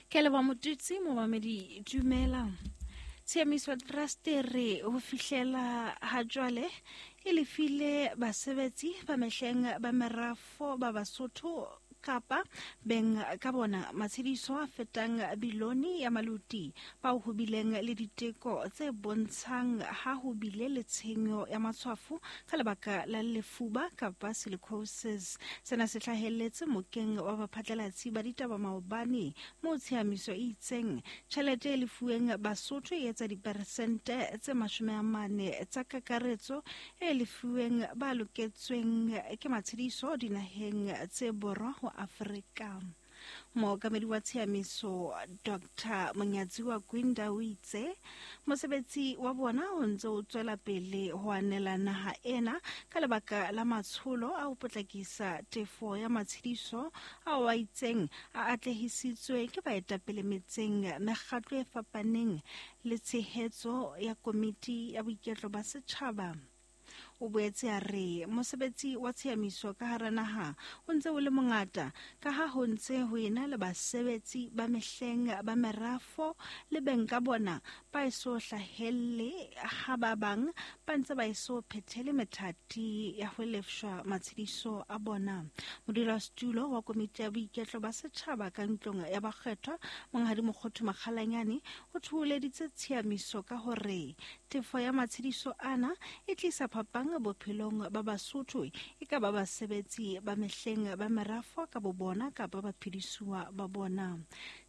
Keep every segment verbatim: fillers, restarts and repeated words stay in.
Ke leboha Motutsi momamedi dumela. Tshiamiso Trust re ho fihlela ha jwale e lefile basebetsi ba mehleng ba merafo ba Basotho kapa beng ka bona matshediso a fetang bilione ya maluti bao ho bileng le diteko tse bontshang ha ho bile le tshenyo ya matshwafo ka lebaka la lefuba kapa silicosis. Sena se hlahelletse mokeng wa baphatlalatsi ba ditaba maobane moo tshiamiso e itseng tjhelete e lefuweng Basotho e etsa diperesente tse mashome a mane tsa kakaretso e lefuweng ba loketsweng ke matshediso dinaheng tse borwa ho Afrika. Mookamedi wa tshiamiso Doctor Monyatsiwa Gwinda o itse mosebetsi wa bona o ntse o tswela pele ho anela naha ena ka lebaka la matsholo a ho potlakisa tefo ya matshediso ao a itseng a atlehisitswe ke baetapele metseng, mekgatlo e fapaneng le tshehetso ya komiti ya boiketlo ba setjhaba. O boetse a re mosebetsi wa tshiamiso ka hara naha o ntse o le mongata ka ha ho ntse ho ena le basebetsi ba mehleng ba merafo le beng ka bona ba eso hlahelle ha ba bang ba ntse ba eso phethele methati ya ho lefshwa matshediso a bona. Modulasetulo wa komiti ya boiketlo ba setjhaba ka ntlong ya bakgethwa Monghadi Mokgothu Makgalanyane o thoholeditse tshiamiso ka hore tefo ya matshediso ana e tlisa phapang bophelong ba Basotho e ka ba basebetsi ba mehleng ba merafo ka bo bona kapa baphedisuwa ba bona.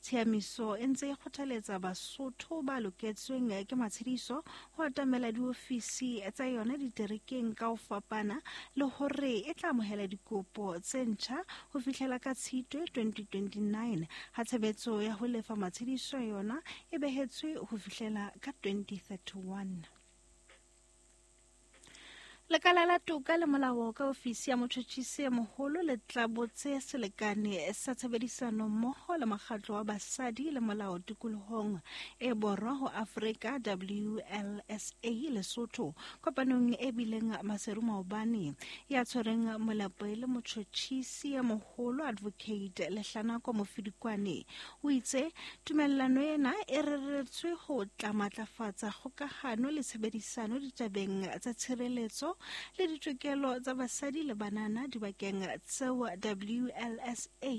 Tshiamiso e ntse e kgothaletsa Basotho ba loketsweng ke matshediso ho atamela diofisi tsa yona diterekeng ka ho fapana le hore e tla amohela dikopo tse ntjha ho fihlela ka Tshitwe twenty twenty-nine ha tshebetso ya ho lefa matshediso yona e behetswe ho fihlela ka twenty thirty-one. Lekala la toka le molao ka ofisi ya motjhotjhisi e moholo le tla botse selekane sa tshebedisano mmoho le mokgatlo wa basadi le molao tikolohong e borwa ho Afrika W L S A Lesotho kopanong e bileng Maseru maobane ya tshwereng molapo e le motjhotjhisi e moholo Advocate Lehlanako Mofidikwane o itse tumellano ena e reretswe ho tla matlafatsa kgokahano le tshebedisano ditabeng tsa tshireletso le ditokelo tsa basadi le banana dibakeng tseo W L S A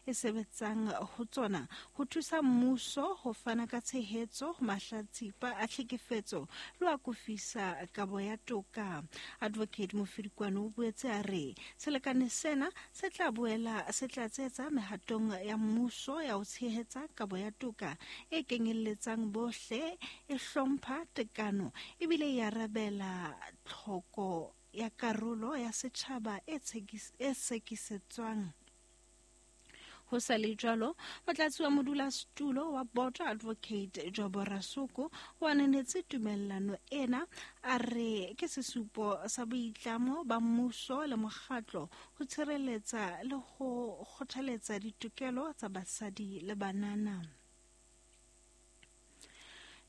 e sebetsang ho tsona ho thusa mmuso ho fana ka tshehetso ho mahlatsipa a tlhekefetso le ho akofisa kabo ya toka. Advocate Mofidikwane o boetse a re selekane sena se tla boela se tla tsetsa mehatong ya mmuso ya ho tshehetsa kabo ya toka e kenyelletsang bohle, e hlompha tekano ebile e arabela tlhoko ya karolo ya setjhaba e sekisetswang. Ho sa le jwalo, motlatsi wa modulasetulo wa boto Advocate Jobo Rasoko o ananetse tumellano ena a re ke sesupo sa boitlamo ba mmuso le mokgatlo ho tshireletsa le ho kgothaletsa ditokelo tsa basadi le banana.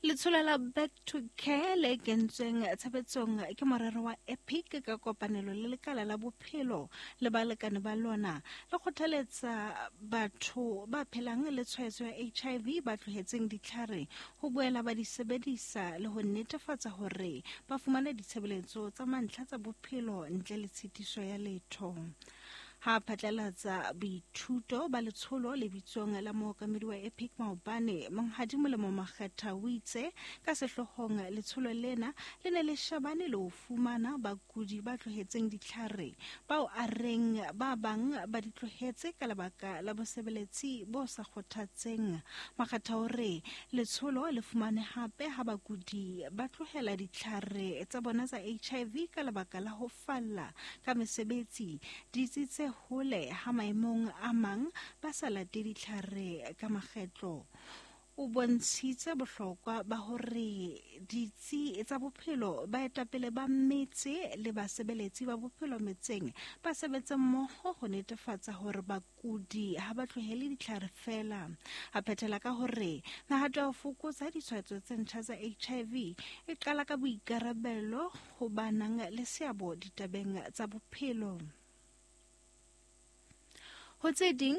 Letsholo la Back to Care le kentsweng tshebetsong ke morero wa EPIC ka kopanelo le lekala la bophelo le balekane ba lona le kgothaletsa batho ba phelang le tshwaetso ya H I V ba tlohetseng ditlhare ho boela ba di sebedisa le ho netefatsa hore ba fumane ditshebeletso tsa mantlha tsa bophelo ntle le tshitiso ya letho. Ha phatlalatsa boithuto ba letsholo le bitsong la mookamedi wa EPIC maobane Monghadi Molemo Makgetha o itse ka sehloohong letsholo lena le ne le shabane le ho fumana bakudi ba tlohetseng ditlhare bao a reng ba bang ba di tlohetse ka lebaka la bosebeletsi bo sa kgothatseng. Makgetha o re letsholo le fumane hape ha bakudi ba tlohela ditlhare tsa bona tsa H I V ka lebaka la ho falla ka mesebetsi ditsi tse hole ha maemong a mang ba sa late ditlhare ka makgetlo. O bontshitse bohlokwa ba hore ditsi tsa bophelo baetapele ba metse le basebeletsi ba bophelo metseng ba sebetse mmoho ho netefatsa hore bakudi ha ba tlohele ditlhare fela. A phethela ka hore mehato ya ho fokotsa ditshwaetso tse ntjha tsa H I V e qala ka boikarabelo ho ba nang le seabo ditabeng tsa bophelo. Ho tse ding,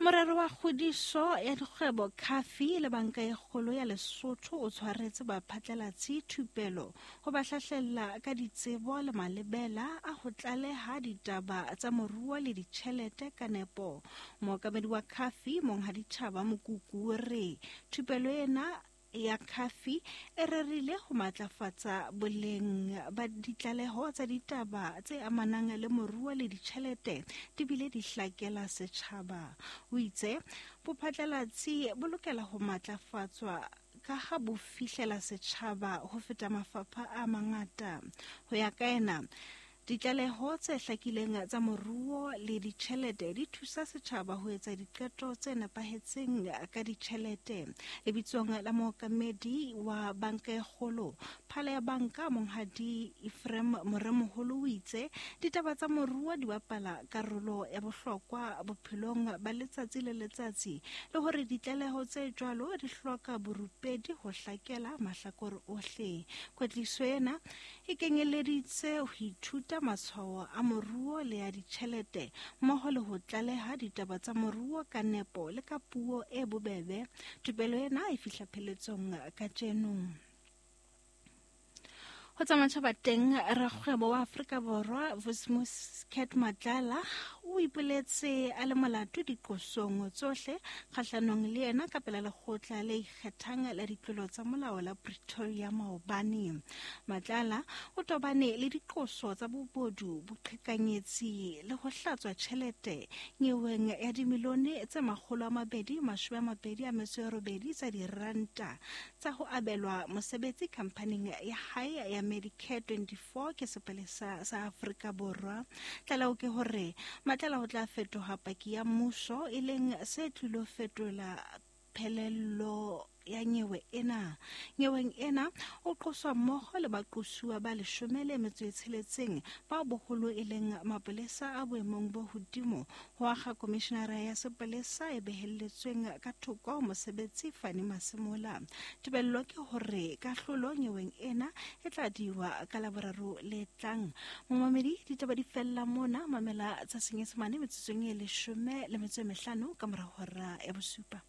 Morero wa kgodiso ya dikgwebo Khafi le banka e kgolo ya Lesotho o tshwaretse baphatlalatsi thupelo ho ba hlahlella ka ditsebo le malebela a ho tlaleha ditaba tsa moruo le ditjhelete ka nepo. Mookamedi wa Khafi Monghadi Thaba Mokuku o re thupelo ena ya Khafi e rerile ho matlafatsa boleng ba ditlaleho tsa ditaba tse amanang le moruo le ditjhelete di bile di hlakela setjhaba. O itse bophatlalatsi bo lokela ho matlafatswa ka ha bo fihlela setjhaba ho feta mafapha a mangata. Ho ya ka ena, ditlaleho tse hlakileng tsa moruo le ditjhelete di thusa setjhaba ho etsa diqeto tse nepahetseng ka ditjhelete. Lebitsong la mookamedi wa banka e kgolo, phala ya banka Monghadi Ephraim Moremoholo o itse ditaba tsa moruo di bapala karolo ya bohlokwa bophelong ba letsatsi le letsatsi le hore ditlaleho tse jwalo di hloka borupedi ho hlakela mahlakore ohle. Kwetliso ena e kenyeleditse ho ithuta matshwao a moruo le ya ditjhelete mmoho le ho tlaleha ditaba tsa moruo ka nepo le ka puo e bobebe. Thupelo ena e fihla pheletsong kajeno. Ho tsa matjhaba teng, rakgwebo wa Afrika Borwa Vusimuzi Cat Matlala o ipoletse a le molato diqosong tsohle kgahlanong le yena ka pela lekgotla le ikgethang la ditlolo tsa molao la Pretoria maobane. Matlala o tobane le diqoso tsa bobodu, boqhekanyetsi le ho hlatswa tjhelete nyeweng ya dimilione tse makgolo a mabedi mashome a mabedi a metso e robedi tsa diranta tsa ho abelwa mosebetsi khamphaning ya hae ya Medicare twenty-four ke sepolesa sa Afrika Borwa. Tlaleho ke hore Matlala ho tla fetoha paki ya mmuso e leng se tlilo fetola phelello ya nyewe ena. Nyeweng ena o qoswa mmoho le baqosuwa ba leshome le metso e tsheletseng bao boholo e leng mapolesa a boemong bo hodimo ho akga komishenara ya sepolesa e behelletsweng ka thoko mosebetsi Fanny Masemola. Tebello ke hore kahlolo nyeweng ena e tla diwa ka Laboraro le tlang. Momamedi, ditaba di fella mona. Mamela tsa Senyesemane metsotsong e leshome le metso e mehlano ka mora hora ya bosupa.